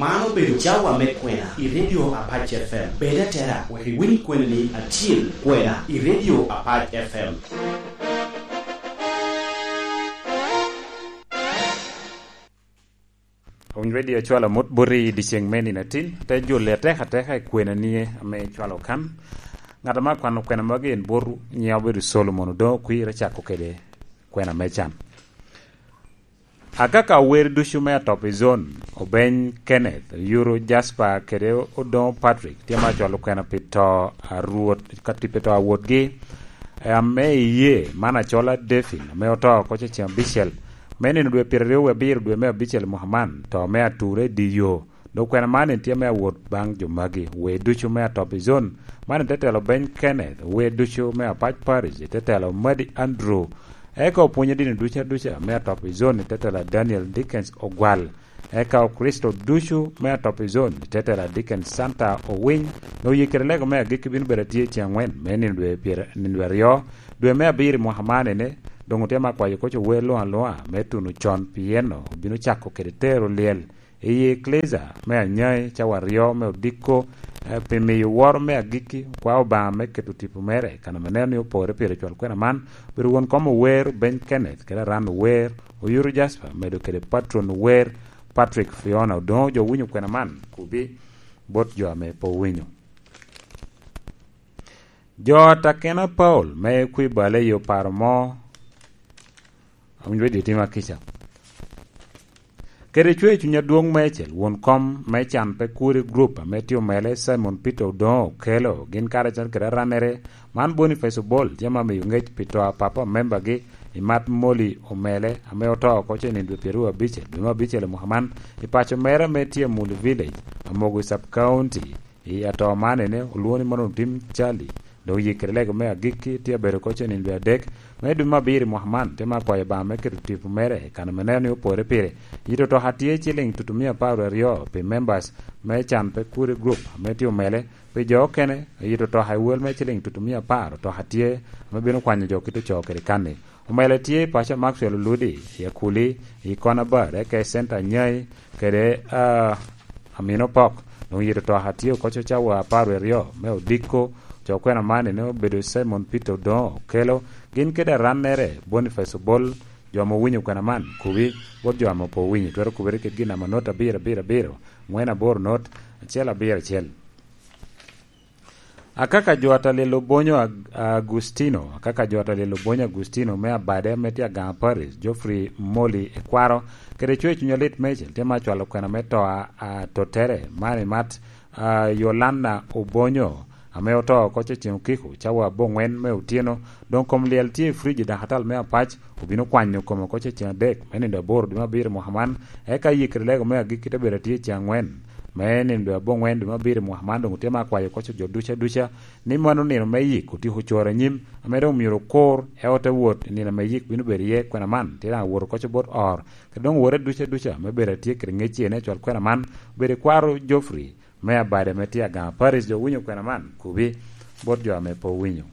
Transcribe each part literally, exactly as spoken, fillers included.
Man obedo cawa me kwena i Radio Apac F M. Bed atera wek iwiny kwenani acil, kwena i Radio Apac F M. Owiny Radio cwalo amut boti i dyeceŋ me nino atin, te jole atek ateka i kwenani ame cwalo kan. Ŋat ame akwano kwena magi en botwu, nyiŋa obedo Solomon Odoŋo Okwir, acako kede kwena me can. Akaka ower ducu me Atop i Zone, Obeny Kenneth, Oyuro Jasper kede Odoŋo Patrick tye ma acwalo kwena pi to a Rwot, ka pi to a wotgi, e, ame iye man acola Defin, ame oto oko ceŋ abicel me nino dwe pyeraryo wie abiro dwe me abicel i mwaka man, to me ature i dye yo. Dok kwena man en tye me awot baŋ jo magi, wer ducu me Atop i Zone, man en te telo Obeny Kenneth, wer ducu me Apac Parish, te telo Madi Andrew, eka opwonyo dini duca duca me Atop i Zone, te telo Daniel Dickens Ogwal, eka Okricito ducu me Atop i Zone, te telo Dickens Santa Owiny, dok yikere lego me agikki bino bedo atye ceŋ aŋwen me nino dwe pyer-, nino dwe aryo, dwe me abiro i mwaka man ene, doŋ otye ma kwayo koc ower luŋ aluŋa me tuno con, pien obino cako kede tero lyel i Eklesia me Anyai cawa aryo me odiko, eh, pi miyo woro me agikki, kwa Obaŋa me keto tipo mere, kan ame neno ni opore pire cwal kwena man, obedo won kom ower Obeny Kenneth, kede Aran ower Oyuru Jasper, medo kede patron ower Patrick Fiona. Odoŋo jo owinyo kwena man, kubi bot jo ame pe owinyo. Jo atakena Paul me kwi bale i oparo mo, awinyo dye tima kica. Kede cwer cuny adwoŋ meicel, won kom me can pe kuri group ame tye omele Simon Peter Odoŋo Okelo, gin karacel kede arannere, man Boniface Obol, tye ma miyo ŋec pi to a papa membagi i mat Molly Omele, ame oto oko ceŋ nino dwe pyeraryo abicel, dwe me abicel i mwaka man, i paco mere ame tye Mulu Village, Amogo Sub County. I ato man ene, olwoŋo ni Mono Tim Charlie, dok yikere lego me agikki tye abedo oko ceŋ nino dwe adek me dwe me abiro i mwaka man, te ma kwayo Obaŋa me keto tipo mere i kan ame neno ni opore pire. Yito otoka tye ciliŋ tutumia apar aryo pi members me can pe kuri group ame tye omele, pi jo okene, yito otoka i wel me ciliŋ tutumia apar otoka tye ame bino kwanyo jo kit ocoo kede kanni. Omele tye i paco Maxwell Oludi, i Akuli, i Konabar, eka i Center Nyai, kede, ah, Amino Pok. Doŋ yito otoka tye oko cawa apar wie aryo me odiko, co kwena man ene obedo Simon Peter Odoŋo Okelo, gin kede arannere Boniface Obol, jo ame owinyo kwena man, kubi, bot jo ame pe owinyo, twero kubere kede gin namba not abiro abiro abiro, ŋwen aboro not, acel abiro acel. Akaka jo atalil Obonyo Ag-, Agustino, akaka jo atalil Obonyo Agustino me Abade ame tye Agaŋa Parish, Geoffrey Moli Ekwaro, kede cwer cuny alit meicel tye ma acwalo kwena me to a, a tottere, man i mat, a, Yolanda Obonyo, ame oto oko ceŋ okiko, cawa aboŋwen me otyeno, doŋ kom lyel tye i frij i dakatal me Apac, obino kwanyo kome oko ceŋ adek, me nino dwe aboro dwe me abiro i mwaka man, eka yikere lego me agikki te bedo atye ceŋ aŋwen, me nino dwe aboŋwen dwe me abiro i mwaka man, doŋ otye ma akwayo oko jo duca duca, ni mano nino me yik otyeko coro anyim, ame doŋ myero okur, ento te wot i nino ame yik bino bedo iye, kwena man, tye daŋ awot oko bot or, kede doŋ owote duca duca, me bedo atye kede ŋec iye ni acwal kwena man, obedo i kwaro Geoffrey, me Abade ame tye Agaŋa Parish, jo owinyo kwena man, kubi, bot jo ame pe owinyo.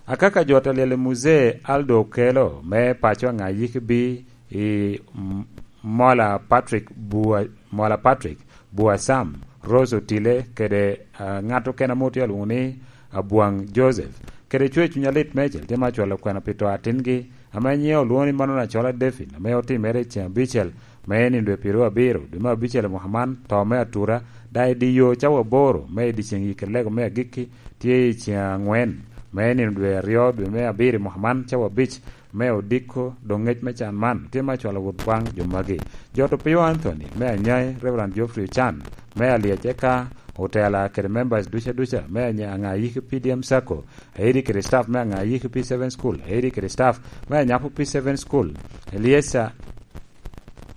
Akaka jo atalel i Muzee Aldo Okelo me paco Aŋayikbi i M-, Mola Patrick Bua-, Mola Patrick Bua Sam, Rose Otile, kede, ah, ŋat okene ame otye alwoŋo ni Abwaŋ Joseph, kede cwer cuny alit meicel tye ma acwalo kwena pi to atingi, ame nyiŋe olwoŋo ni Manon Acola David, ame otimere i ceŋ abicel, me nino dwe pyeraryo abiro, dwe me abicel i mwaka man, to me atura, daŋ i dye yo cawa aboro, me i dyeceŋ yikere lego me agikki, tye i ceŋ aŋwen, me nino dwe aryo, dwe me abiro i mwaka man, cawa abic, me odiko, doŋ ŋec me can man, tye me acwalo wot baŋ jo magi. Jot Opio Anthony, me Anyai, Reverend Geoffrey Ochan, me Alyec, eka otela kede members duca duca, me Anya-, Aŋayiki P D M Sacco, Aidi kede staff me Aŋayiki P seven School, Aidi kede staff me Anyapo P seven School, Eliesa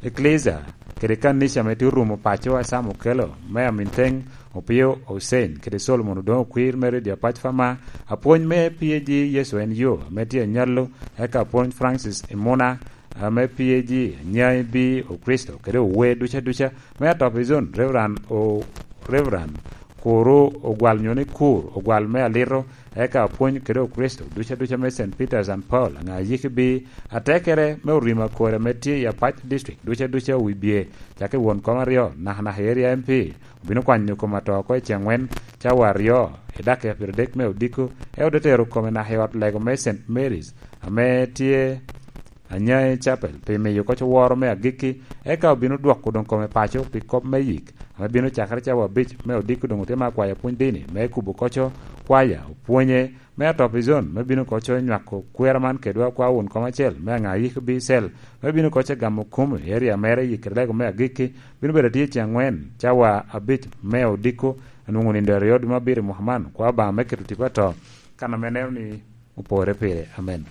Ecclesia, kede kanica me tye orumo paco a Sam Okelo, me Aminteng Opio Hussein, kede Solomon Odoŋo Okwir me Radio Apac Fama, apwony me P A G Yecu en yo, ame tye anyallo, eka apwony Francis Imuna, ame P A G Anyai B Okristo, kede ower duca duca, me Atop i Zone, Reverend O-, Reverend Kuru ogwal nyo ni Kur, ogwal me alito, eka apwony kede Okricito duca duca me Saint Peter's and Paul, aŋa yikki bi atekere me orima kore ame tye i Apac District duca duca owibye, cak i won kom aryo, nakanaka i Area M P, obino kwanyo kom ato oko i ceŋ wen, cawa aryo, i dakika pyeradek me odiko, e ote tero kome naka i ot lego me Saint Mary's, ame tye Anyai Chapel, pi miyo koc woro me agikki, eka obino dwoko doŋ kome paco pi kop me yik, ame bino cakere cawa abic me odiko doŋ otye me akwayo pwony dini, me kubo koco kwaya, opwonye, me atop i zon, me bino koco nywako kwera man kedwa kwa wun kom acel, me aŋa yik bi cel, me bino koco gamo kumu i area mere i kede lego me agikki, bino bedo atye ceŋ angwen, cawa abic me odiko, anwoŋo nindo aryo dwe me abiro i mwaka man, kwa Obaŋa me keto tipo ato, kan ame neno ni opore pire. Amen.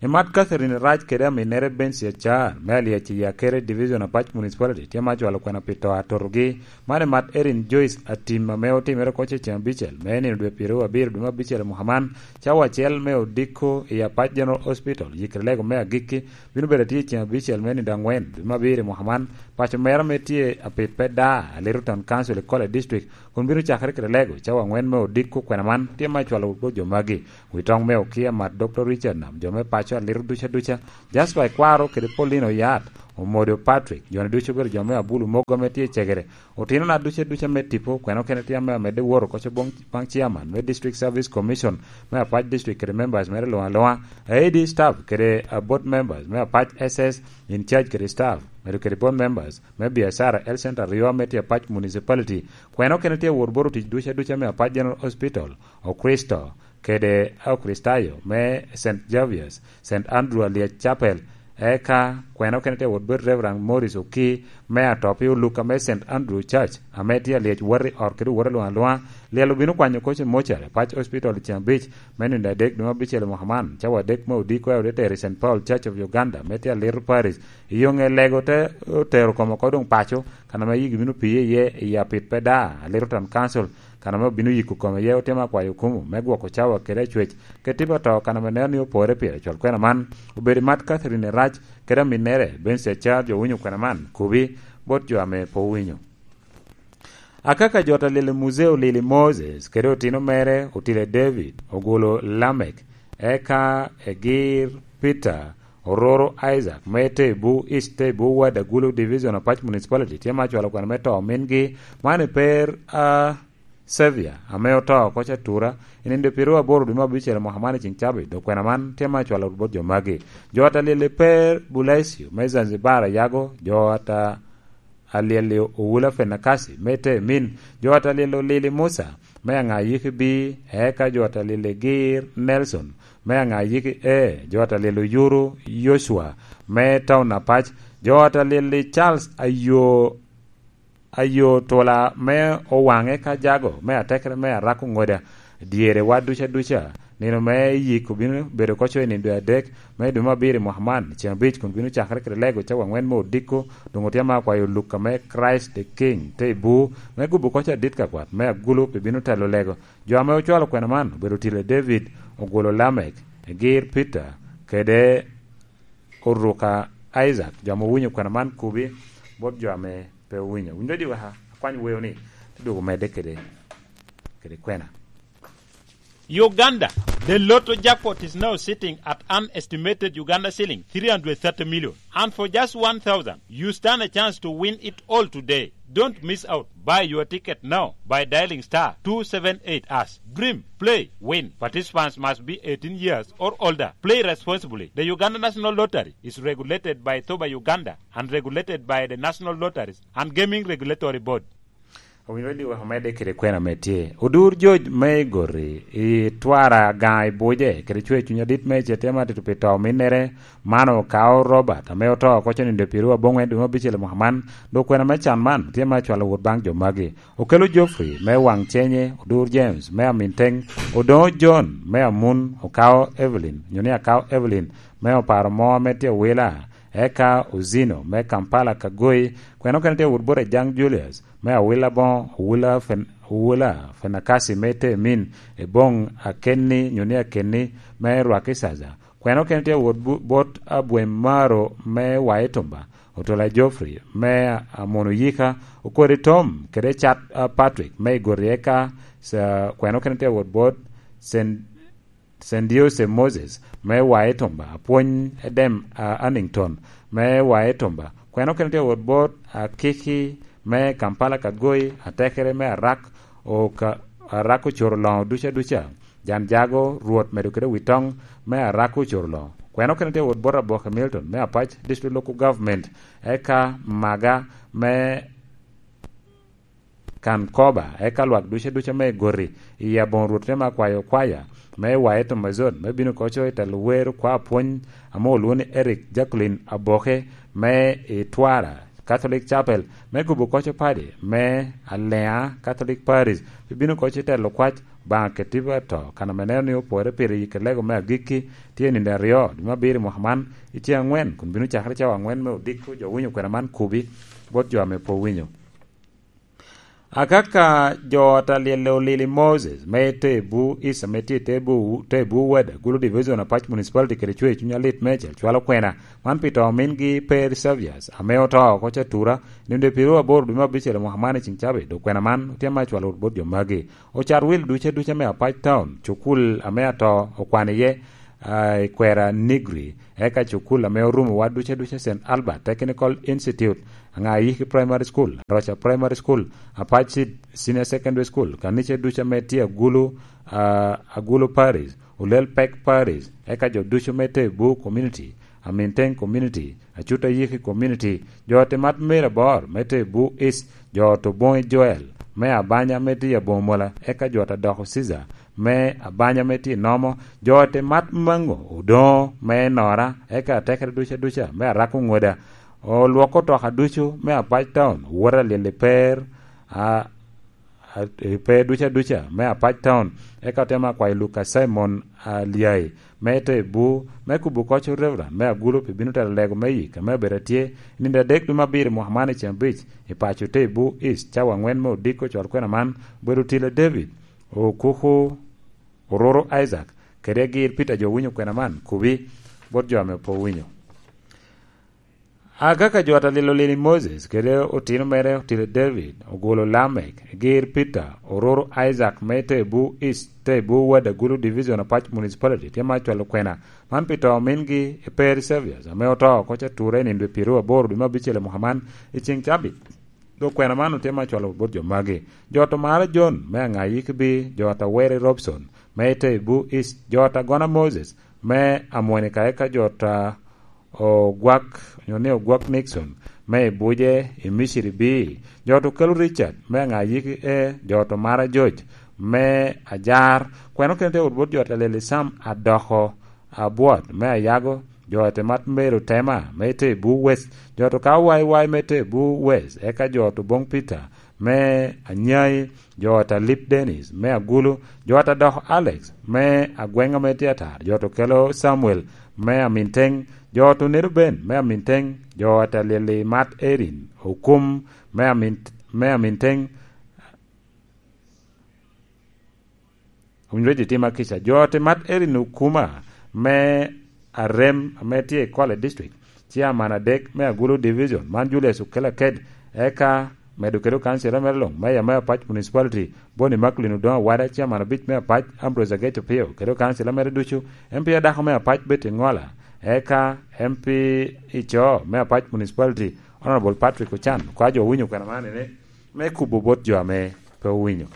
Imat Catherine Rac kede aminnere Bensi Acar, me Aliaci Yakere Division Apac Municipality, tye ma cwalo kwena pi to atotogi. Man imat Erin Joyce Atim ame otimere koc i ceŋ abicel, me nino dwe pyeraryo abiro dwe me abicel i mwaka man, cawa acel me odiko i Apac General Hospital, yikere lego me agikki, bino bedo atye i ceŋ abicel me nino angwen dwe me abiro i mwaka man, paco mera me tye apit pe da, Alito Town Council i Kole District, kun bino cakere kede lego, cawa angwen me odiko kwena man, tye ma cwalo bot jo magi. Wi toŋ me okia mat Doktor Richard Nam, jo me paco alito duca duca, Jasper Ikwaro kede Paulino Yat, Omodo Patrick, jo-ni ducu obedo jo me Abulu mogo ame tye i cegere, otinona duca duca me tipo, kwena okene tye ame amedde woro koco boŋ baŋ chairman me District Service Commission me Apac District kede members mere luŋ aluŋa, A D staff kede, uh, board members me Apac S S in charge kede staff, medo kede board members me biacara Health Center aryo ame tye Apac Municipality, kwena okene tye wot bot otic duca duca me Apac General Hospital, Okricito, kede Okricitayo me Saint Xavier's, Saint Andrew Aliac Chapel, eka kwena okene tye wot bot Reverend Morris Oki me Atopi Oluka me Saint Andrew Church, ame tye Aliac wot i ot kede wot alwoŋ alwoŋa. Lyel obino kwanyo koc i mochari, Apac Hospital, i ceŋ abic me nino adek dwe me abicel i mwaka man, cawa adek me odiko, eka ote tero i Saint Paul Church of Uganda, me tye Alito Parish, i yo ŋe lego te otero kome oko doŋ paco, kan ame yigi bino piye iye i apit pe da, Alito Town Council, kan ame obino yiko kome iye, otemo akwayo okumu me gwoko cawa kede acwec, kede tipo ato, kan ame neno ni opore pire. Cwal kwena man obedo i mat Catherine Rac kede aminnere Bensi Acar, jo winyo kwena man, kubi bot jo ame pe owinyo. Akaka jot a lili Muzeo, lili Moses kede otino mere Otile David, ogolo Lamek, eka Egir Peter, Ororo Isaac, me Tebu East, Tebu Ward, Agulu Division, Apac Municipality, tye ma cwalo kwena me to omingi, man i per a Xavier, ame oto oko catura, i nino dwe pyeraryo aboro dwe me abicel mwaka man i ceŋ cabit, dok kwena man tye ma cwalo bot jo magi. Jo ata lili per Bulaisio, me Zanzibar, Ayago, jo ata Alyel-li Owula Fenakasi, me Temin, jo ata lili Olili Musa, me Aŋayiki B, eka jo ata lili Gir Nelson, me Aŋayiki A, jo ata lili Oyuru Yocwa, me Taun Apac, jo ata lili Charles Ayo, Ayo Tula, me Owaŋe ka Jago, me Atekere, me Arako Ŋoda, dyere wa duca duca, nino me yik obino bedo koco i nino dwe adek me dwe me abiro i mwaka man, ceŋ abic kun bino cakere kede lego cawa aŋwen me odiko, doŋ otye ma akwayo Luka me Christ the King, te i bur, me gubo koco adit ka kwat, me Agulu pe bino telo lego. Jo ame ocwalo kwena man obedo Otile David, Ogwolo Lamek, Egir Peter, kede Oruka Isaac. Jo ame owinyo kwena man kubi bot jo ame pe owinyo. Winyo di weka, akwany weo ni, te dwogo medde kede, kede kwena. Uganda, the lotto jackpot is now sitting at an estimated Uganda shilling three hundred thirty million. And for just one thousand, you stand a chance to win it all today. Don't miss out. Buy your ticket now by dialing star two seven eight hash. Dream, play, win. Participants must be eighteen years or older. Play responsibly. The Uganda National Lottery is regulated by Toba Uganda and regulated by the National Lotteries and Gaming Regulatory Board. Owinyo ni wek omedde kede kwena me tye. Odur George me Igoti, i Twara Gaŋ i Buje, kede cwer cuny adit me ecete me atito pi to ominnere, man okao Robert, ame oto oko cen i dwe pyeraryo aboŋwen dwe me abicel i mwaka man, dok kwena me can man tye ma cwalo wot baŋ jo magi. Okelo Geoffrey me Waŋ Cenye, Odur James me Aminteng, Odoŋo John me Amun, okao Evelyn, nyo ni akao Evelyn, me Oparo Mo ame tye Owila, eka Ozino me Kampala Kagoi, kwena okene tye wot bot Ajang Julius, me Awila Boŋo, Owula Fen-, Owula Fenakasi me Temin, Eboŋ Akenni, nyo ni Akenni, me Rwakicaca. Kwena okene tye wot bu-, bot Abwem Maro me Waitumba, Otola Geoffrey me Amono Yika, Okori Tom kede Cat, a, Patrick me Igoti, eka sa-, kweno kene tye wot bot Sen-, Sen Diose Moses me Wae Tumba, Apwony Edem, a, Annington me Wae Tumba, kweno kene tye wot bot Akiki me Kampala Kagoi, Atekere me Arak, Oka-, Arak Ocoro Loŋo duca duca. Jan Jago, Rwot medo kede wi toŋ me Araka Ocoro Loŋo. Kweno kene tye wot bot Aboke Milton me Apac District Local Government, eka Maga me Kankoba, eka lwak duca duca me Igoti, i aboŋo Rwot te ma kwayo kwaya me Wae Tomazon, me bino koco i telo wer kwa apwony ame olwoŋo ni Eric Jacqueline Aboke me i Twara Catholic Chapel, me gubo koco padi me Alea Catholic Parish, pi bino koco i telo kwac Baŋa Ketiba to, kan ame neno ni opore pire i kelego me agikki, tye i nino aryo, dwe me abiro i mwaka man, i tye aŋwen, kun bino cakere cawa aŋwen me odiko jo winyo kwena man kubi bot jo ame pe owinyo. Akaka jo ata lyelle olili Moses, me te bu Isa, me tye te bu, te bu wada, Gulu Division Apac Municipality kede cwe cuny alit me cel cwalo kwena, man pi to omingi Peri Savias, ame oto oko catura, nino dwe pyeru aboro dwe me abicel mwaka man i ceng cabe, dok kwena man otye ma cwalo bot jo magi. Ocat wil duca duca me Apac Town, cukul ame ato okwano iye, ah, i kwera Nigri, eka cukul ame orumo wa duca duca Saint Albert Technical Institute, Aŋayiki Primary School, Roca Primary School, Apac Senior Secondary School, kanice duca me tye Agulu, ah, Agulu Parish, Olel Pek Parish, eka jo ducu me Tebu Community, Aminteng Community, Acuta Yiki Community, jo Temat Mary Abor me Tebu East, jo Toboŋi Joel me Abanya me tye Abomola, eka jo Tadoko Caesar me Abanya me tye Nomo, jo Temat Mango Odoŋo me Nora, eka atekere duca duca me Arako Ŋoda. Olwoko otoka ducu me Apac Town, wot alyel i per, a, a, i pe duca duca me Apac Town, eka otemo akwayo Luka Simon Alyai, me Tebu, me kubo koc Reverend me Agulu pi bino telo lego me yik ame obedo atye i nino adek dwe me abiro i mwaka man i ceng abic i paco Tebu East, cawa aŋwen me odiko cwal kwena man, obedo Otile David, Okuku, Oruru Isaac, kede Gir Peter jo winyo kwena man, kubi bot jo ame pe owinyo. Agaka jo ata lilo lili Moses kede otino mere Otile David, Ogulu Lamek, Gir Peter, Oruru Isaac me Tebu East, Tebu Wada Gulu Division Apac Municipality, tye ma cwalo kwena man pi to omingi i Peri Saviors, ame oto oko ca ture i nino dwe pyeru aboro dwe me abicel i mwaka man i ceng cabit. Dok kwena man otye ma cwalo bot jo magi. Jo to Mara John me Aŋayiki bi, jo ata Weri Robson me Tebu East, jo ata Gona Moses me Amwonika, eka jo ta Ogwak, onyo ni Ogwak Nixon, me i Buje, i Misiri bi, jo to Kelo Richard, me Aŋayiki e, jo to Mara George, me Ajar, kweno kene te wot bot jo ta Leli Sam Adoko, Abwot, me Ayago, jo te Mat Mero Tema, me Tebu West, jo to Kawai Wai, me Tebu West, eka jo to Bong Peter, me Anyai, jo ata Lip Dennis, me Agulu, jo ata Dok Alex, me Agweng ame tye atar, jo to Kelo Samuel, me Aminteng, jo to Nedo Ben, me Aminteng, jo ata Lyeli Mat Erin, Okum, me Amint-, me Aminteng, Owinyo reco i tima kica. Jo te Mat Erin Okuma me Arem ame tye i Kwale District, Chairman adek me Agulu Division, man Julius Okela Ked, eka medo kede okancila mere luŋ, Mayor me Apac Municipality, Boni Maklin Odoŋo Awada, Chairman abic me Apac, Ambrose Agec Opio, kede okancila mere ducu, M P adako me Apac, Betty Ŋola, eka M P ico me Apac Municipality, Honorable Patrick Ochan, kwa jo owinyo kwena man ene, me kubo bot jo ame pe owinyo.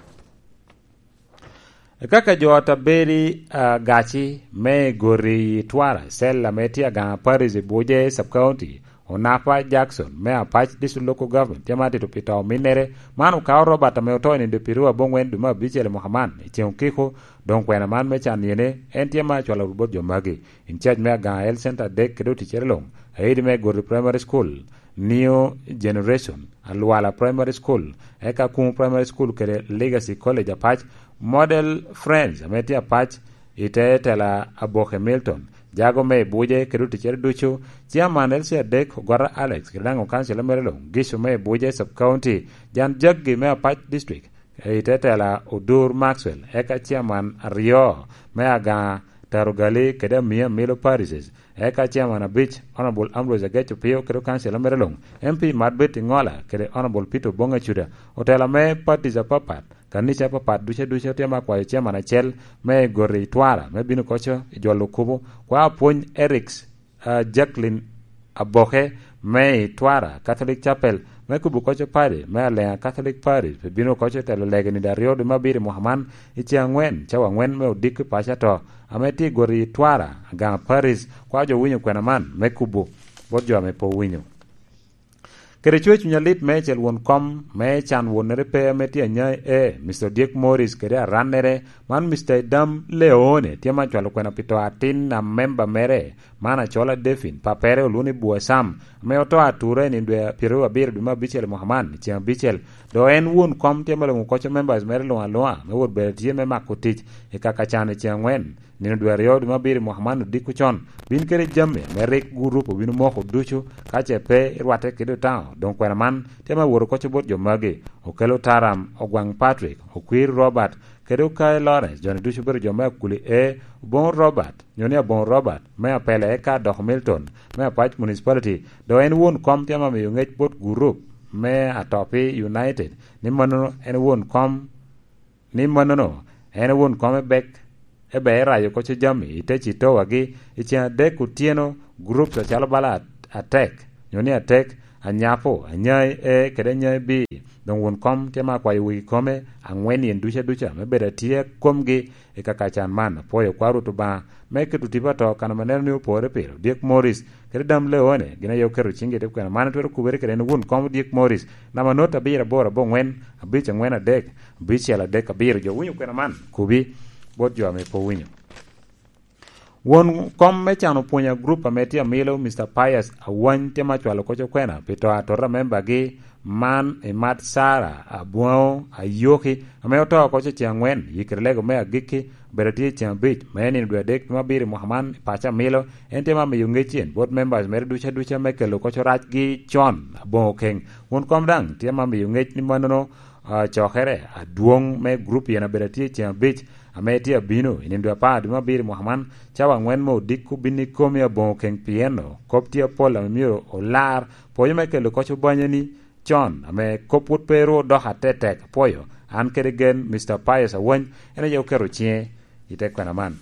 Kaka jo ata Beri, ah, Gaci me Gori i Twara, cell ame tye Agaŋa Parish i Buje Sub-County, Onapa Jackson me Apac District Local Government, tye ma tito pi to ominnere. Man okao Robert ame oto i nino dwe pyeru aboŋwen dwe me abicel i mwaka man, i ceng okiko, doŋ kwena man me can yene, en tye ma acwalo bot jo magi. In charge me Agaŋa Health Center adek kede oticere luŋ, aidi me Gori Primary School, New Generation, Alwala Primary School, eka Kumu Primary School kede Legacy College Apac, Model Friends ame tye Apac, i te tela Aboke Milton, jago me i Buje kede oticere ducu, Chairman L C adek Ogwata Alex, kede daŋ okancila mere luŋ, Gicu me i Buje Sub-County, Jan Jaggi me Apac District, i te tela Odur Maxwell, eka Chairman aryo me Agaŋa Taro Gali kede Amia Milo Parishes, eka chairman abic, Honorable Ambrose Ageco Pio kede kansila mere luŋ, M P Marbet Iŋola kede Honorable Peter Oboŋ Acuda, otelo ame parties apapat, kanica apapat duca duca tye ame akwayo chairman acel me goti i Twara me bino koco i jolo kubo, kwa apwony Erics, ah, Jacqueline Aboke me i Twara Catholic Chapel me kubo koco padi me Aleŋa Catholic Parish, pe bino koco telo lege ni aryo dwe me abiro i mwaka man i ceŋ angwen, cawa angwen me odiko i paco ato, ame tye i goti i Twara, Agaŋa Parish, kwa jo winyo kwena man me kubo bot jo ame pe owinyo. Kede cwer cuny alit meicel won kom me can wonnere pe ame tye anyai e, Mister Odyek Morris kede arannere, man Mister Idam Leone tye ma cwalo kwena pi to atin a memba mere, man Acola Devin, papere olwoŋo ni Bwoi Sam, ame oto atura i nino dwe pyeraryo abiro dwe me abicel i mwaka man, i ceŋ abicel. Dok en won kom tye ma luŋo koco members mere luŋ aluŋa, me wot bedo tye me mako tic i kaka can i ceŋ angwen. Nino dwe aryo dwe me abiro i mwaka man odiko con, bin kede jami ame rik gurup obino moko ducu, ka ce pe irwatte kede Otaŋo, doŋ kwena man tye me woro koco bot jo magi, okelo Taram, Ogwaŋ Patrick, Okwir Robert, kede Okai Lawrence, joni ducu obedo jo me Akuli A, Oboŋo Robert, nyo ni Aboŋo Robert, me Apele, eka Doko Milton, me Apac Municipality, dok en won kom tye ame miyo ŋec bot gurup me Atopi United, ni mannono en won kom ni mannono en won kom ebek, ebe erayo koco jami i te citowagi i ceŋ adek otyeno, groups acalo bala at-, atek, nyo ni atek, anyapo, anyai A kede anyai B. Doŋ won kom tye ma akwayo wegi kome aŋwen yen duca duca me bedo atye komgi i kaka can man. Apwoyo kwa Rwot Obaŋa me keto tipo ato kan ame neno ni opore pire. Odyek Morris kede Dam Leone gin aye oketo ciŋgi i te kwena man, twero kubere kede en won kom Odyek Morris, namba not abiro aboro aboŋwen, abic aŋwen adek, abicel adek abiro. Jo winyo kwena man, kubi bot jo ame pe owinyo. Won kom me cano pwonya grup ame tye amilo, Mister Pius Awany, tye ma cwalo koco kwena pi to atota membagi man i mat Sara Abwaŋo Ayoki, ame oto koco ceŋ aŋwen, yikere lego me agikki, obedo tye i ceŋ abic, me nino dwe adek dwe me abiro i mwaka man i paco amilo. En tye ma miyo ŋec cen bot members mere duca duca me kelo koco racgi con aboŋo keŋ. Won kom daŋ tye ma miyo ŋec ni mannono, ah, cokere adwoŋ me grup yen abedo tye i ceŋ abic, ame tye abino i nino dwe apar dwe me abiro i mwaka man, cawa aŋwen me odiko bin ikomi aboŋo keŋ, pien kop tye apol ame myero olar, pwonyo me kelo koco banyani con, ame kop pwod pe ru odoko atetek. Apwoyo, an kede gen, Mister Pius Awany, en aye oketo ciŋe i te kwena man.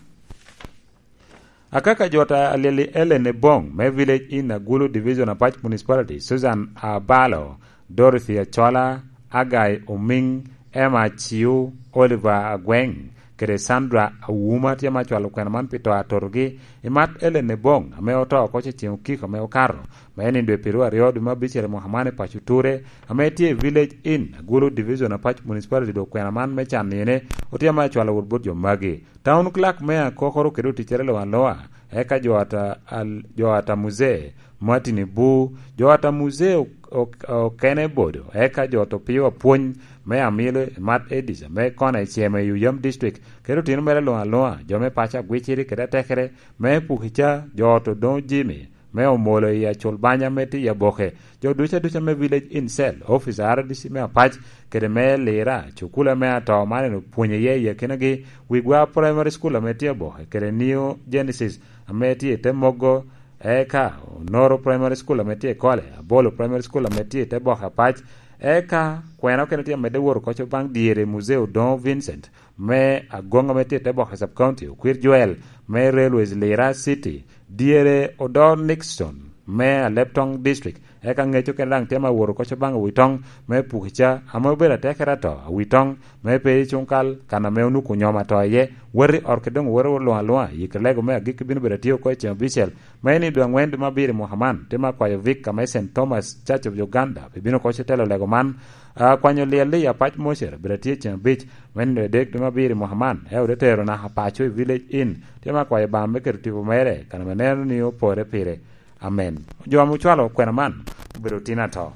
Akaka jo ta alyel i Ellen Ebong me Village Inn, Agulu Division, Apac Municipality, Susan Abalo, Dorothy Achola, Agai Omiŋ, Emma Aciu, Oliver Agweng, kede Sandra Awuma tye ma cwalo kwena man pi to atotogi i mat Ellen Ebong, ame oto oko i ceŋ okiko ame okato, me nino dwe pyeraryo aryo dwe me abicel i mwaka man i paco Ture, ame tye i Village Inn, Agulu Division, Apac Municipality, dok kwena man me can nine otye ma acwalo wot bot jo magi. Town Clerk me Akokoro kede oticcere luŋ aluŋa, eka jo ata, al-, jo ata Muzee, Martin Ibu, jo ata Muzee ok-, ok-, okene bodo, eka jo Topio Apwony me Amilo i Mat Edis, ame kona i Cema i Uyam District, kede otino mere luŋ aluŋa, jo me paco Agwiciri kede atekere me Pukica, jo ot Odoŋo Jimmy, me Omolo i Acul Banya me tye i Aboke, jo duca duca me Village Inn Cell, Office R D C me Apac, kede me Lira, cukula me ato man en opwonyo iye i akinagi, Wigwa Primary School ame tye Aboke, kede New Genesis ame tye i te Mogo, eka Onoro Primary School ame tye i Kole, Abolo Primary School ame tye i te Boke Apac, eka kwena okene tye amedde woro koco baŋ dyere Muzee Odoŋo Vincent, me Agoŋ ame tye i te Boke Sub County, Okwir Joel me Railways Lira City, dyere Odor Nixon me Aleptong District, eka ŋec okene daŋ tye ma woro koco baŋ Awitoŋ me Pukica, ame obedo atekere ato, Awitoŋ me pe i Cuŋkal, kan ame onuko nyom ato iye, wati ot kede doŋ woro luŋ aluŋa, yikere lego me agikki bino bedo atye oko i ceŋ abicel, me nino dwe aŋwen dwe me abiro i mwaka man, tye ma kwayo Vic ame Saint Thomas Church of Uganda, pi bino koco telo lego man, a, kwanyo lyel i Apac Mocere, bedo atye i ceŋ abic, me nino dwe adek dwe me abiro i mwaka man, eka ote tero naka paco i Village Inn, tye ma kwayo Obaŋa me keto tipo mere, kan ame neno ni opore pire. Amen. Jo ame ocwalo kwena man obedo tin ato.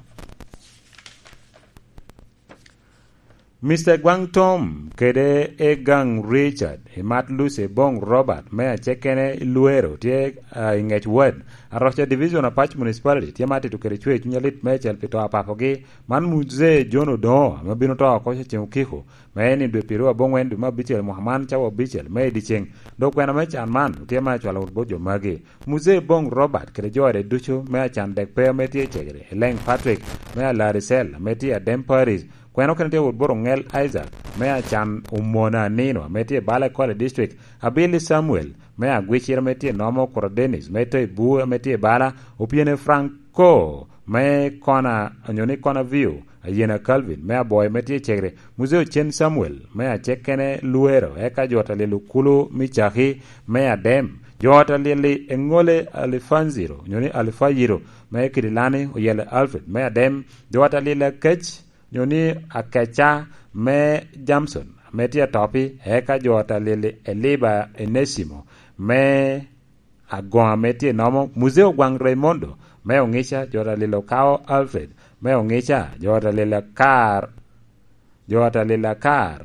Mister Gwang Tom kede Egang Richard, i Mat Lucy Bong Robert me Acekene i Luero tye, ah, i Ngec Ward, Aroca Division, Apac Municipality, tye ma tito kede cwer cuny alit meicel pi to a papogi. Man Muzee John Odongo, ame bino to oko ceŋ okiko, me en i dwe piru aboŋwen dwe me abicel mwaka man, cawa abicel me i dyeceŋ. Dok kwena me can man tye ma acwalo wot bot jo magi. Muzee Bong Robert kede jo ode ducu me acan dek pe ame tye i Cegere, Eleng Patrick me Alarisel ame tye i Adem Parish, kwena okene tye wot bot Oŋel Isaac me acan Omona Anino ame tye i Bala Kwale District, Abili Samuel me Agwicir ame tye i Nomo, Kuro Dennis me Toibu ame tye i Bala, Opiene Franco me Kona, onyo ni Kona View, Ayena Calvin me Aboy ame tye i Cegere, Muzee Ocen Samuel me Acekene Luero, eka jo ta lyel okulu me Caki me Adem, jo ta lyel i Eŋole Alifanziro, onyo ni Alifayiro me Kidilani, Oyele Alfred me Adem, jo ta lyel Akec, onyo ni Akeca me Jamson ame tye Atopi, eka jo ta lyel Eliba Enesimo me Agoŋ ame tye i Nomo, Muzee Ogwaŋ Raimondo me Oŋica, jo ta lyel Okao Alfred me Oŋica, jo ta lyel Akar, jo ta lyel Akar,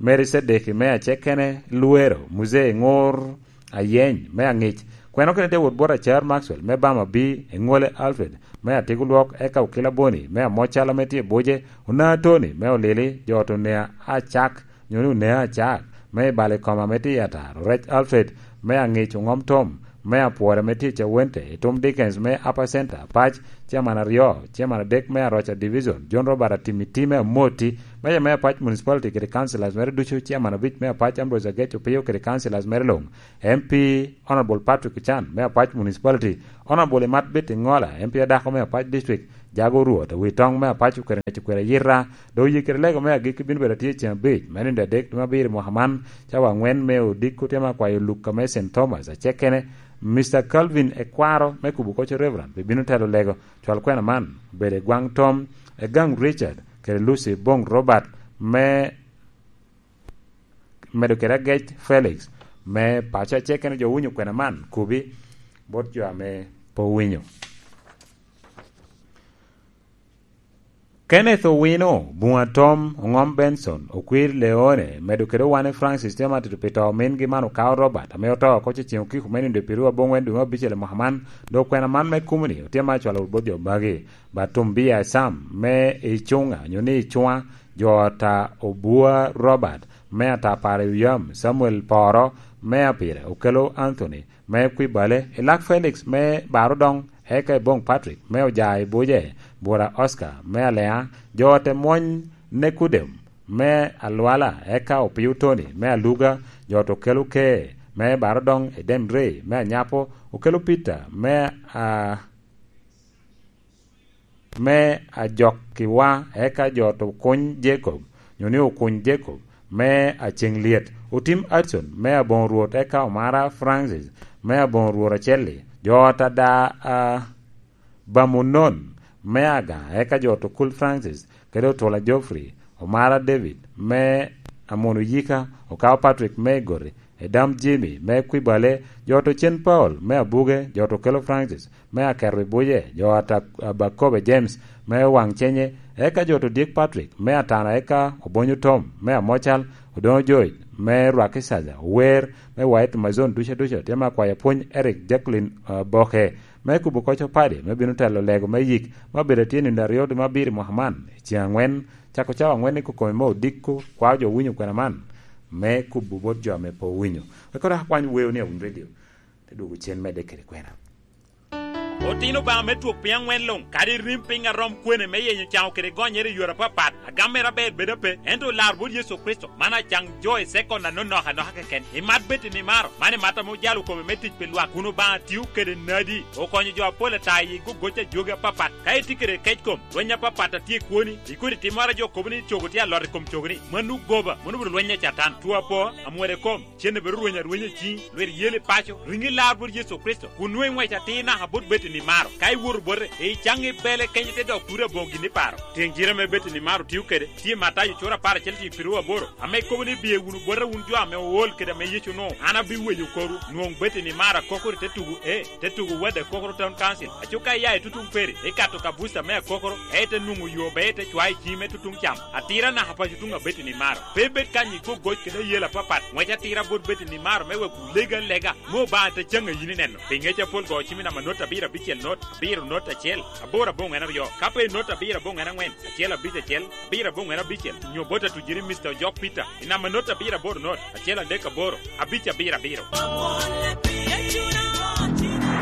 Mary Sedeki me Acekene Luero, Muzee Ŋur Ayeny me Aŋic, kwena okene tye wot bot Acar Maxwell me Bama B, Eŋole Alfred me Atiko Lwok, eka Okila Boni me Amocal ame tye i Buce, Ona Tony me Olili, jo ta Onea Acak, onyo ni Onea Acak, me i Bala i Koma ame tye i Atar, Orec Alfred, me Aŋic Oŋom Tom, me Apwora ame tye i Cawente, Itum Dickens me Upper Center, Apac, Chairman aryo, Chairman adek me Aroca Division, John Robert Atimiti me Amoti, Mayor me Apac Municipality kede Councilors mere ducu, Chairman abic me Apac Ambrose Agec Opio kede Councilors mere luŋ, M P Honorable Patrick Ochan me Apac Municipality, Honorable Imat Betty Ŋola, M P adako me Apac District, Jago Rwot, Awitoŋ me Apac Okwero Ŋec Okwero Ayita, dok oye kede lego me agikki bino bedo atye ceŋ abic, me nino adek dwe me abiro i mwaka man, cawa aŋwen me odiko, tye ma akwayo Luka me Saint Thomas, Acekene, Mister Calvin Ekwaro me Kubo Koco Reverend, pi bino telo lego, cwal kwena man, obedo i Gwaŋ Tom, Egang Richard, kede Lucy Bong Robert, me medo kede Agec Felix, me paco Acekene. Jo owinyo kwena man, kubi bot jo ame pe owinyo. Kenneth Owino, Bunga Tom, Oŋom Benson, Okwir Leone, medo kede Owane Francis, tye ma tito pi to omingi man Okao Robert, ame oto oko ceŋ okiko me nino dwe piru aboŋwen dwe me abicel i mwaka man, dok kwena man me kumo-ni otye ma acwalo wot bot jo magi, Batumbia Sam, me Icuŋa, onyo ni Icuŋa, jo ta Obua Robert, me Atapara Yam, Samuel Poro, me Apire, Okelo Anthony, me Kwibale, Elak Felix me Barodoŋ, eka Eboŋ Patrick me Oja i Buce, Bura Oscar me Alea, jo te mwony Nekudem me Alwala, eka Opio Tony me Aluga, jo te Okelo Ke me Barodoŋ, Edem Ray me Anyapo, Okelo Peter me, a, me Ajokkiwa, eka jo te Okuny Jacob, onyo ni Okuny Jacob, me Aceŋ Lyet, Otim Adson, me Aboŋo Rwot, eka Omara Francis, me Aboŋo Rwot Acelli, jo ta da, a, Bamunon, me Aga, eka jo ta Okul Francis, kede Otula Geoffrey, Omara David, me Amono Yika, Okao Patrick, me Igoti, Edam Jimmy, me Kwibale, jo ta Ocen Paul, me Abuge, jo ta Okelo Francis, me Aketo i Buce, jo ta Abakobe James, me Waŋ Cenye, eka jo ta Odyek Patrick, me Atana, eka Obonyo Tom, me Amocal, Odoŋo George, me Rwaki Caja, Ower, me White Amazon ducu aducu, tye ma akwayo apwony Eric Jacqueline, a, Boke, me Kubo Koco Padi, me bino telo lego me yik, ma bedo atye nino aryo dwe me abiro i mwaka man, i ceŋ aŋwen, cako cawa aŋwen i kokome me odiko, kwao jo winyo kwena man, me kubo bot jo ame pe owinyo. Wek odok akwany weo ni awiny redio, te dwogo cen medde kede kwena. Otino Obaŋa me twok piny aŋwen luŋ, kadi rim piny a rom kwene me yenyo caŋo kede gonyere i yore apapat, agam mere aber bedo ape, ento olar bot Yecu Kricito, man acaŋ jo i sekon anonok anoka keken. Imat bed i nimaro, man imat ame ojalo kome me tic pi lwak, kun Obaŋa tio kede nadi, okonyo jo apol ata i gogoc a jogi apapat. Ka itye kede kec kom, lweny apapat a tye i kwoni, i kodi timmoro a jo kobo ni cogo tye alot i kom cogoni, mano goba, mano obedo lweny a Catan. Two apo, amwero i kom, cen obedo rweny arwenya i ciŋi, lwit yel i paco, riŋi lar bot Yecu Kricito, kun nwoŋo iŋwec atir naka bot bed i Ni maro, ka iwoto bote, icaŋ i bele kenyo te dok kuri aboŋo gin i paro. Tyeŋ jire ame Betty ni maro tio kede, tye Matayo cura apar acel tye i piru aboro, ame kobo ni, "Biye wunu bota wun jo ame ool kede ame Yecu onwoŋo, an abiweyo korwu." Nwoŋ Betty ni maro akokoro i te tugo, e, te tugo Wade Akokoro Town Council. Aco ka iya i tutuŋ peri, ikato ka buca me akokoro, e te nwoŋo yo ber te cwayo ciŋi me tutuŋ cam. Atira naka paco tuŋ a Betty ni maro. Pe ibed kany i gogoc kede ayela apapat, ŋwec atira bot Betty ni maro me wek wulege alega. Me Obaŋa te caŋ a yin ineno. Pi ŋec apol go cim i namba note abiro abicel note, abiro note acel, aboro aboŋwen aryo. Ka pe i note abiro aboŋwen aŋwen, acel abic acel, abiro aboŋwen abicel, nyo bot atujiri Mister Ojok Peter, i namba note abiro aboro note, acel adek aboro, abic abiro abiro.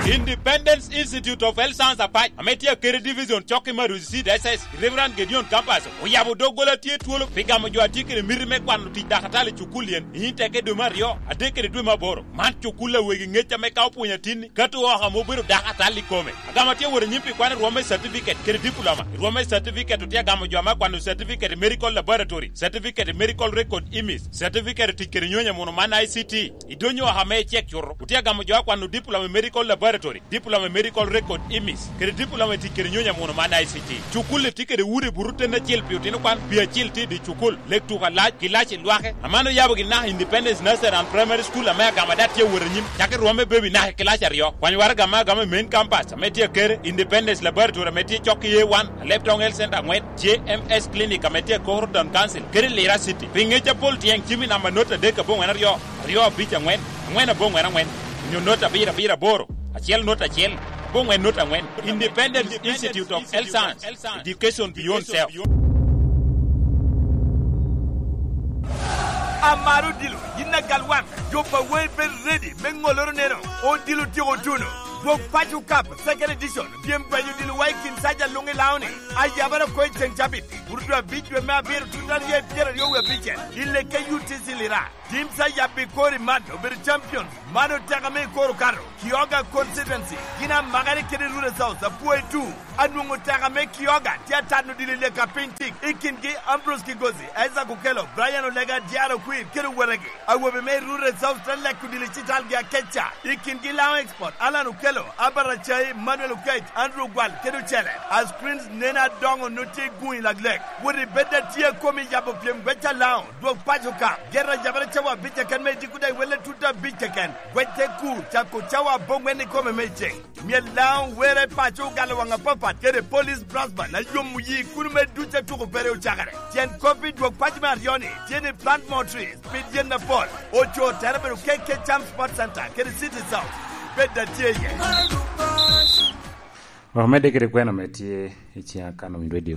Independence Institute of Health Science Apac, ame tye Akere Division, cokki me Arusi Diocese, Reverend Gideon Campus, oyabo doggola tye twolo pi gamo jo a tye kede miti me kwano tic dakatali i cukul yen, i teke dwe me aryo, adek kede dwe me aboro. Man cukul a wegi ŋec ame ka opwonyo atinni, kato oko ame obedo dakatali i kome. Agamo tye wot anyim pi kwano i rwom me certificate kede diploma. I rwom me certificate otye agamo jo ame akwano certificate i medical laboratory, certificate i medical record image, certificate i tic kede nyonyo muno man I C T. I dony oko ame icek cuto, otye agamo jo akwano diploma i medical laboratory, diploma i medical record image, kede diploma i tic kede nyonyo muno man I C T. Cukul-li tye kede udi buto ten acel pi otino kwan, pi acil tye i dye cukul, lek tuko alac, kilaci lwake. Aman oyabo gin naka Independence Nursery and Primary School ame agamo ada tye awot anyim, cakki rwom me baby naka i kilaci aryo. Kwany waraga ame agamo i main campus ame tye Akere, Independence Laboratory ame tye cok i A one, Alep Town Health Center aŋwen, J M S Clinic ame tye Akokoro Town Council, kede Lira City. Pi ŋec apol tyeŋ cim i namba not adek aboŋwen aryo, aryo abic aŋwen, aŋwen aboŋwen aŋwen, onyo not abiro abiro aboro, acel not acel, aboŋwen not aŋwen. Independence Institute of Health Science, Education Beyond Self. Amaro odilo, yin agal wan, jo pa wei bed ready me ŋoloro neno, odilo tyeko tuno. Dwog Paco Cup, Second Edition, pyem gwenyo odilo wa i kin saja luŋ i Laoni, ayabara oko i ceŋ cabit, buru dwe abic dwe me abiro tut aryo i pyeraryo wie abicel, i lekke U T C Lira. Teams a yabbi kor i man obedo champions. Man oteka me i kor okato. Kioga Constituency gin amakere kede Rural South, apwoyo tu. Anwoŋo oteka me Kioga tye atano dilo i leka piny tik i kingi Ambrose Kigozi, Isaac Okello, Brian Olega, J R Okwir kede owetegi. Awobe me Rural South te leko dilo i citalgi akeca i kingi Laŋo Export, Alan Okello, Albert Acai, Manuel Okech, Andrew Ogwal kede ocele. A screens nen adoŋo no tye i guŋ i laglek. Wot i bed a tye a komi yabo pyem gweca Laŋo. Dwog Paco ka, gero ajabere cawa abic keken me diko daŋ iwelle tut abic keken. Gwec te kur, cako cawa aboŋwen ikome me ceŋ. Myel Laŋo were paco ogalo waŋ apapat kede Police Brass Band a yomo yi kuno me duc a tuko pere ocakere. Tyen kop i dwog paco me aryo-ni tye ni plant more trees, pid yen apol. Oco tere bedo K K Cham Sports Center kede City South. Bed a tye iye. Omedde kede kwena me tye i ciŋ Akanon Radio.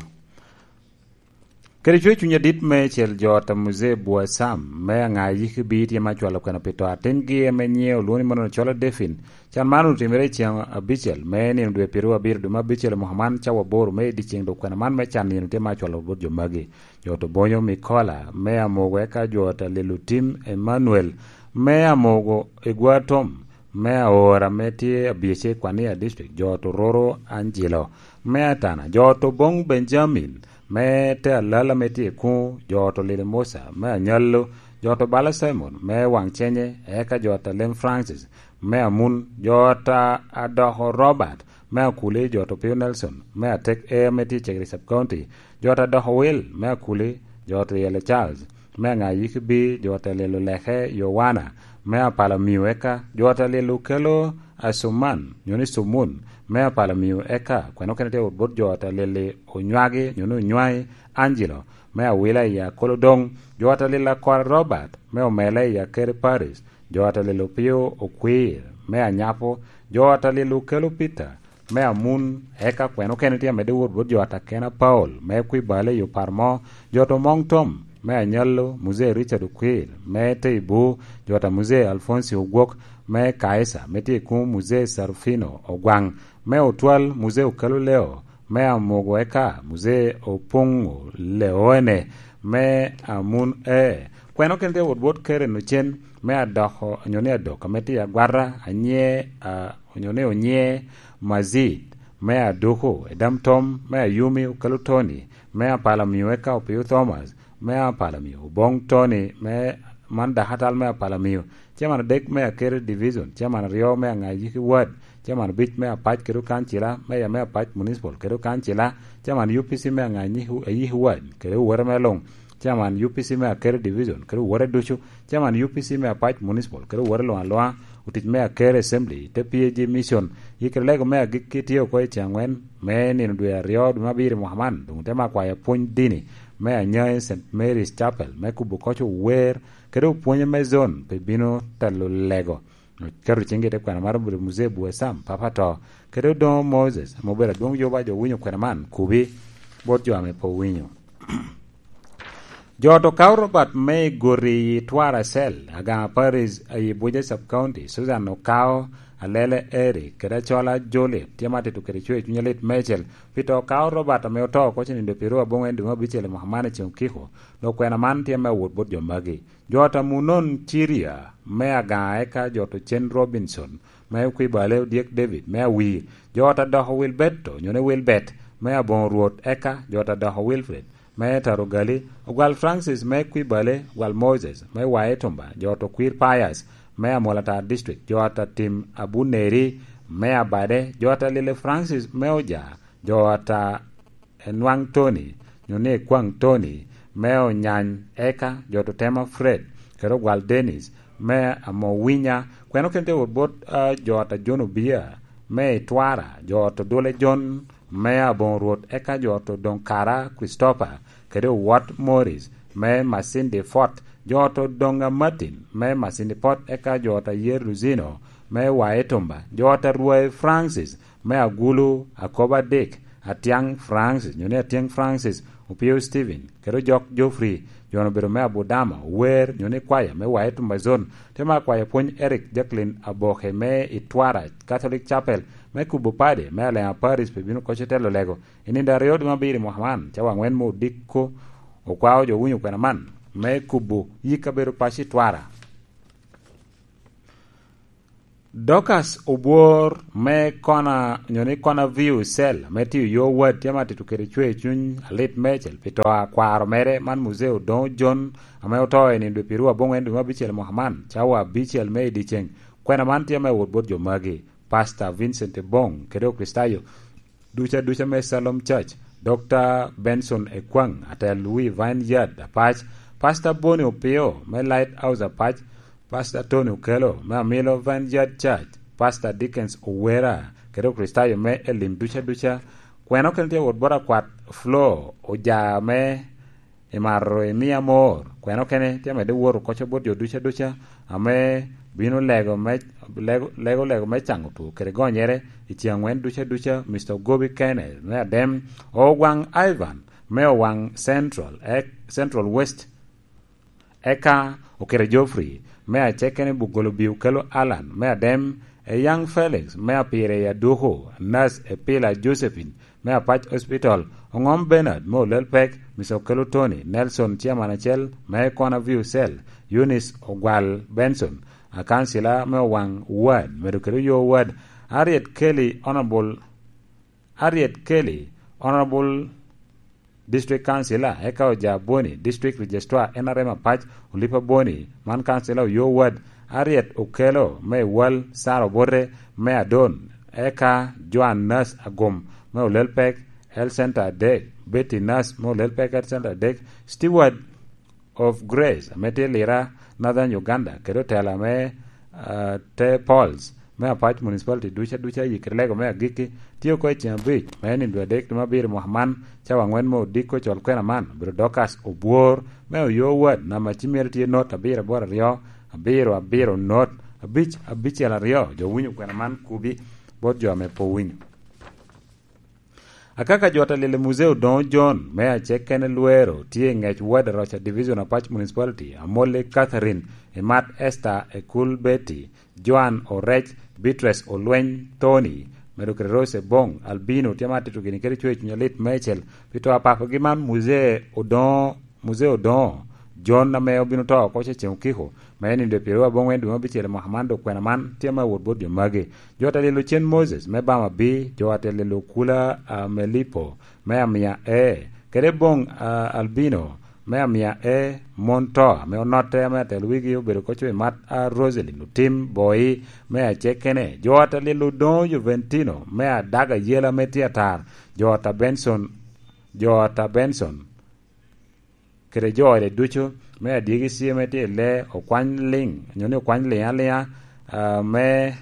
Kede cwer cuny adit me cel jo ata Muzee Bua Sam, me aŋa yiki bi tye ma cwalo kwena pi to atingi ame nyiŋe olwoŋo ni Manuel Cola Defin. Can man otimere i ceŋ abicel me nino dwe pyeraryo abiro dwe me abicel i mwaka man, cawa aboro me i dyeceŋ, dok kwena man me can nino tye ma cwalo bot jo magi. Jo to Bonyo Mikola, me Amogo, eka jo ata Lelo Tim Emmanuel, me Amogo, Egwa Tom, me Aora, me tye Abyece, Kwania District, jo to Roro Angelo, me Atana, jo to Bong Benjamin, me te Alala, me tye Kuŋo, jo to Lili Musa, me Anyallo, jo to Bala Simon, me Waŋ Cenye, eka jo ta Lem Francis, me Amun, jo ta Adoko Robert, me Akuli, jo to Pio Nelson, me Atek Air, me tye Cegri Sub County, jo ta Doko Wil, me Akuli, jo to Yele Charles, me Aŋa Yiki Bi, jo ta Lelo Leke Yowana, me Apala Miu, eka jo ta Lelo Kelo Asuman, nyo ni Sumun, me Apala Miu, eka kweno kene tye wot bot jo ta Leli Onywagi, nyo ni Onywai Angelo, me Awila i Akolodoŋ, jo ta Lelo Akora Robert, me Omela i Akere Paris, jo ta Lelo Pio Okwir, me Anyapo, jo ta Lelo Kelo Peter, me Amun, eka kweno kene tye amedde wot bot jo ta Kena Paul, me Kwibale i Opar Mo, jo to Moŋ Tom, me Anyallo, Muzee Richard Okwir, me Teibu, jo ta Muzee Alfonsi Ogwok, me Kaisa, me tye i Kuŋo Muzee Sarufino Ogwaŋ, me Otwal Muzee Okelo Leo, me Amogo, eka Muzee Opoŋo Leone, me Amun E. Kweno kene tye wot bot Keren Ocen, me Adoko, nyo ni Adok, ame tye Agwata, Anye, a, nyo ni Onye Mazit, me Aduku, Edam Tom, me Ayumi Okelo Tony, me Apala Miu, eka Opio Thomas, me Apala Miu, Oboŋ Tony, me man dakatal me Apala Miu, Chairman adek me Akere Division, Chairman aryo me Aŋa Yiki Ward, Chairman obic me Apac kede Okancila, Mayor me Apac Municipal kede Okancila, Chairman U P C me Aŋanyi, Ayiki Ward kede owete mere luŋ, Chairman U P C me Akere Division kede owete ducu, Chairman U P C me Apac Municipal kede owete luŋ aluŋa, otic me Akere Assembly, te P A G Mission. Yikere lego me agikki tye oko i tyen aŋwen me nino dwe aryo, dwe me abiro i mwaka man, doŋ te mako kwayo pwony dini me Anyai Saint Mary's Chapel me kubo koc ower kede opwonye me zone pe bino telo lego. Oketo ciŋgi i te kwena mar obedo Muzee Buesam, Papa to, kede Odoŋo Moses, ame obedo adwoŋ yoba jo winyo kwena man, kubi bot jo ame pe owinyo. Jo ot Okawo Robert me i Goti i Twara Cell, Agaŋa Parish, i Abuja Sub County, Susan Okawo, Alele Eric, kede Acola Juliet, tye ma tito kede cwer cuny alit meicel, pi to Okawo Robert ame oto oko cenindo pyeraryo aboŋwen dwe me abicel i mwaka man i ceŋ okiko, dok kwena man tye me awot bot jo magi. Jo ot Amunon Ciria me Agaŋa eka jo ot Ocen Robinson me Kwibale, Odyek David me Awir, jo ot Adoko Wilberto, nyo ni Wilbert, me Aboŋo Rwot, eka jo ot Adoko Wilfred me Tarogali, Ogwal Francis me Kwibale, Ogwal Moses me Waetumba, jo ot Okwir Pius me Amolatar District, jo ot Atim Abuneri me Abade, jo ot Alile Francis me Oja, jo ot Enwaŋ Tony, nyo ni Ekwaŋ Tony, me Onyany, eka jo ot Otema Fred, kede Ogwal Dennis, me Amowinya, kwena okene tye wot bot, ah, jo ot Ajon Obia, me Itwara, jo ot Odule John, me Aboŋo Rwot, eka jo ot Odoŋ Kara Christopher, kede Owot Morris, me Masindi Fort, jo ot Odoŋa Martin, me Masindi Fort, eka jo ot Ayer Luzino, me Waetumba, jo ot Arwai Francis, me Agulu, Akobo Adik, Atiaŋ Francis, nyo ni Atiaŋ Francis, Opio Stephen, kede Ojok Geoffrey, jo-nu obedo me Abudama, Ower, nyo ni kwaya me Waetumba Zone, te ma kwaya pwony Eric Jacqueline Aboke me Itwara Catholic Chapel, me kubo padi, me Alema Parish pe bino koc otelo lego, i nino aryo dwe me abiro i mwaka man, cawa aŋwen me odiko, okwao jo winyo kwena man, me kubo yik kabedo paco Itwara. Dorcas Obwor me Kona, nyo ni Kona View Cell, me tiyo yo wad, tye ma tito kede cwer cuny alit meicel pi to a kwaro mere man Muzee Odoŋo John, ame oto i nino dwe pyeraryo aboŋwen dwe me abicel mwaka man, cawa abicel me i dyeceŋ. Kwena man tye me wot bot jo magi, Pastor Vincent Ebong, kede Okricitayo duca duca me Shalom Church, Doctor Benson Ekwaŋ, atel wi Vineyard Apac, Pastor Boni Opio me Lighthouse Apac, Pastor Tony Okello me Amilo Vineyard Church, Pastor Dickens Owera, kede Okricitayo me Elim duca duca. Kwena okene tye wot bot akwat Flo Oja me Imaro imia amor, kwena okene tye amedde woro koco bot jo duca duca ame bino lego me, lego, lego, lego me caŋo two kede gonyere i ceŋ aŋwen duca duca, Mister Ogobi Kenneth me Adem, Ogwaŋ Ivan me Owaŋ Central, e, Central West, eka Okere Geoffrey me Acekene, Bugolo Biu Kelo Alan me Adem, Eyaŋ Felix me Apire i Aduku, Nas Epila Josephine me Apac Hospital, Oŋom Bernard me Olel Pek, Mister Okelo Tony, Nelson Chairman acel me Kona View Cell, Eunice Ogwal Benson, akansila me Owaŋ Ward, medo kede Oyo Ward, Harriet Kelly, Honorable Harriet Kelly, Honorable District Councilor, eka Oja Boni, District Registrar, N R M Apac, Olipa Boni, man Councilor Oyo Ward, Harriet Okelo me Wal, Sara Obote me Adon, eka Joan Nas Agum me Olel Pek, Health Center adek, Betty Nas me Olel Pek Health Center adek, Steward of Grace, ame tye Lira, Northern Uganda, kede otela me, ah, Te Pauls, me Apac Municipality duca duca, yikere lego me agikki, tye oko i ceng abic, me nino dwe adek dwe me abiro mwaka man, cawa aŋwen me odiko col kwena man, obedo Dorcas Obwor, me Oyo Ward, namba ci myero tye not abiro aboro aryo, abiro abiro not, abic abicel aryo, jo winyo kwena man kubi, bot jo ame pe owinyo. Akaka jot alil i Muzee Odoŋo John me Acekene Lwero tye i ŋec Ward Aroca Division Apac Municipality, Amolli Catherine, Imat Esther, Ekul Betty, Joan Orec, Beatrice Olweny, Tony, medo kede Rose Ebong, Albino, tye ma tito gini kede cwer cuny alit meicel pi to a papagi man Muzee Odoŋo Muzee Odoŋo, John ame obino to oko cecen okiko, me nino dwe pyeraryo aboŋwen dwe me abicel i mwaka man, dok kwena man tye me awot bot jo magi. Jo atelilo cen Moses me Bama B, jo atelilo Kula, ah, Melipo me Amia A, kede Bong, ah, Albino me amia e mon to ame onotte ame atelo wigi obedo koco i mat a Roselyn Otim Boi me acekene, jo ata lilo Odoŋo Joventino me adaga yela me tye atar, jo ata Benson, jo ata Benson, kede jo ode ducu me adyegi cie me tye i lee okwany liŋ, onyo ni okwany liŋ aliŋa, ah, me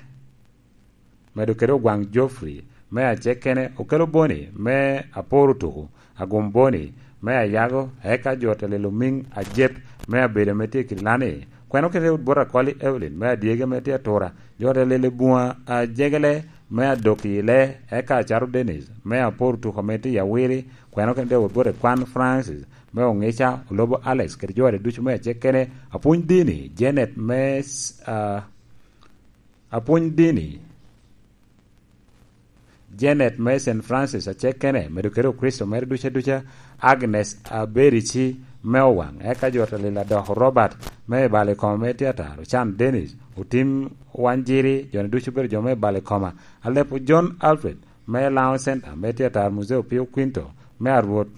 medo kede ogwaŋ Geoffrey me acekene, okelo Boni me aporo tuku, agum Boni me ayago, eka jo ata lilo miŋ ajep me abedo me tye kidi lani, kweno kede wot bot akoli Evelyn me adyegi me tye atura, jo ata lilo buŋa ajegele me adok i lee, eka acato Dennis me aporo tuku ame tye i awiri, kweno kede wot bot ekwan Francis me oŋica, olobo Alex kede jo ata ducu me acekene, apwony dini Janet me s-, ah, apwony dini Janet me Saint Francis acekene, medo kede Okricito mere duca duca, Agnes Aberici me Owaŋ, eka jo ata lilo adoko Robert me i bal i koma me tye atar, Ocan Dennis, Otim Wanjiri, jo-ni ducu obedo jo me i bal i koma, Alepo John Alfred me Laŋo Center me tye atar, Muzee Opio Quinto me Arwot,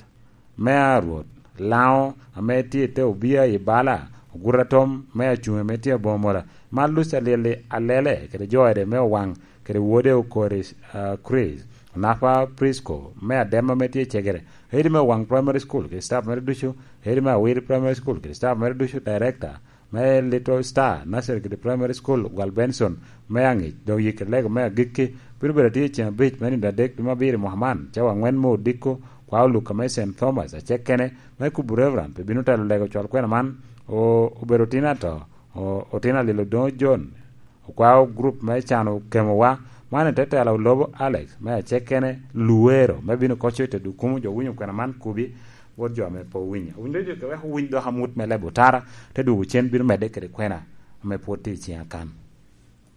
me a Rwot, Laŋo ame tye i te obia i bala, Oguta Tom me Acuŋe ame tye aboŋo mola, Mark Luca Lili Alele kede jo ede me Owaŋ kede wode Okori, ah, Chris, Onapa Prisco me Adema ame tye i Cegere, Hedi me Owaŋ Primary School kede staff mere ducu, Hedi me Awiri Primary School kede staff mere ducu, Director me Little Star Nursery kede Primary School, Gwal Benson me Aŋic, dok yik kede lego me agikki bino bedo atye i ceŋ abic me nino adek dwe me abiro i mwaka man, cawa aŋwen me odiko, kwa oluka me Saint Thomas acekene me kubo Reverend pe bino telo lego col kwena man, o-, obedo otino ato, o-, otino alilo Odoŋo John, okwao grup me cano kemowa, man i te tela olobo Alex me acekene Luero me bino koco i te dukumu jo winyo kwena man kubi, wot jo ame pe owinyo. Owinyo jo wek owiny dok amut me lebo otara, te dwogo cen bino medde kede kwena ame pwod tye i ciŋa kan.